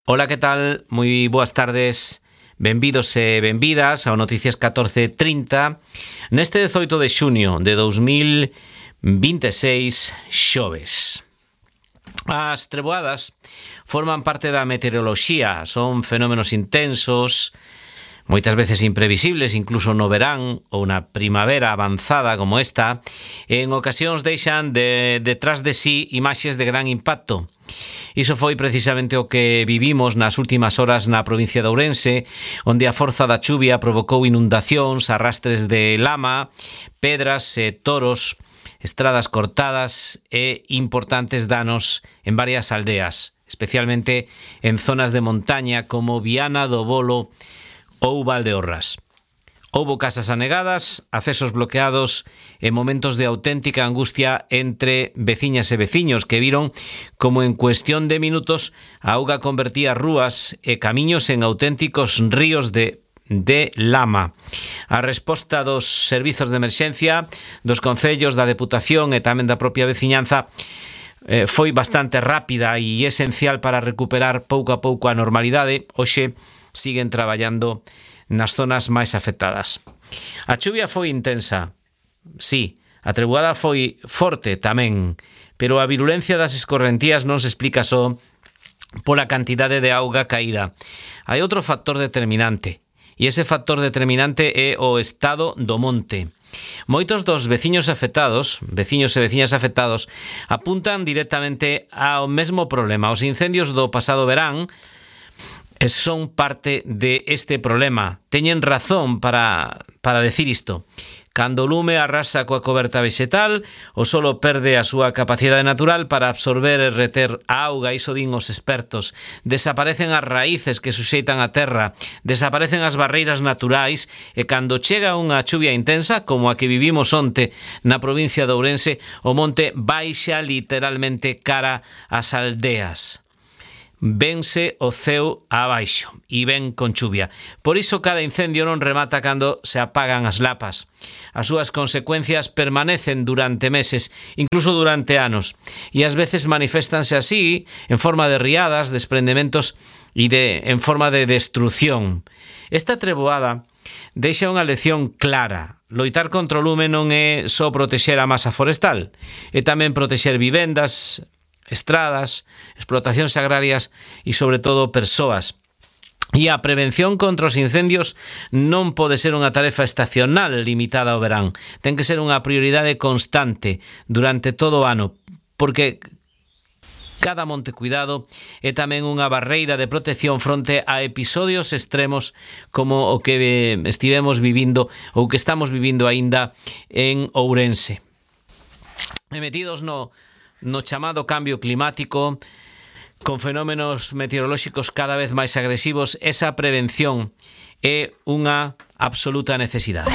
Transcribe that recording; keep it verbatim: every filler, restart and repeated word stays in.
Ola, que tal? Moi boas tardes. Benvidos e benvidas ao Noticias catorce trinta neste dezoito de xuño de dous mil vinte e seis, xoves. As treboadas forman parte da meteoroloxía, son fenómenos intensos, moitas veces imprevisibles, incluso no verán ou na primavera avanzada como esta, en ocasións deixan de, detrás de sí imaxes de gran impacto. Iso foi precisamente o que vivimos nas últimas horas na provincia de Ourense, onde a forza da chuvia provocou inundacións, arrastres de lama, pedras e toros, estradas cortadas e importantes danos en varias aldeas, especialmente en zonas de montaña como Viana do Bolo ou Valdeorras. Houbo casas anegadas, accesos bloqueados e momentos de auténtica angustia entre veciñas e veciños que viron como en cuestión de minutos a auga convertía rúas e camiños en auténticos ríos de, de lama. A resposta dos servizos de emerxencia, dos concellos, da Deputación e tamén da propia veciñanza eh, foi bastante rápida e esencial para recuperar pouco a pouco a normalidade. Hoxe siguen traballando nas zonas máis afectadas. A chuvia foi intensa, sí, a treboada foi forte tamén, pero a virulencia das escorrentías non se explica só pola cantidade de auga caída. Hai outro factor determinante, e ese factor determinante é o estado do monte. Moitos dos veciños afectados, veciños e veciñas afectados, apuntan directamente ao mesmo problema. Os incendios do pasado verán son parte de este problema. Teñen razón para, para decir isto. Cando o lume arrasa coa coberta vexetal, o solo perde a súa capacidade natural para absorber e reter a auga, iso din os expertos. Desaparecen as raíces que suxeitan a terra, desaparecen as barreiras naturais e cando chega unha chuvia intensa, como a que vivimos onte na provincia de Ourense, o monte baixa literalmente cara ás aldeas. Vense o ceo abaixo e ven con chuvia. Por iso cada incendio non remata cando se apagan as lapas. As súas consecuencias permanecen durante meses, incluso durante anos, e ás veces maniféstanse así en forma de riadas, desprendementos e de, en forma de destrucción. Esta treboada deixa unha lección clara. Loitar contra o lume non é só protexer a masa forestal, é tamén protexer vivendas, estradas, explotacións agrarias e, sobre todo, persoas. E a prevención contra os incendios non pode ser unha tarefa estacional limitada ao verán. Ten que ser unha prioridade constante durante todo o ano, porque cada monte cuidado é tamén unha barreira de protección fronte a episodios extremos como o que estivemos vivindo ou que estamos vivindo aínda en Ourense. E metidos no no chamado cambio climático, con fenómenos meteorolóxicos cada vez máis agresivos, esa prevención é unha absoluta necesidade.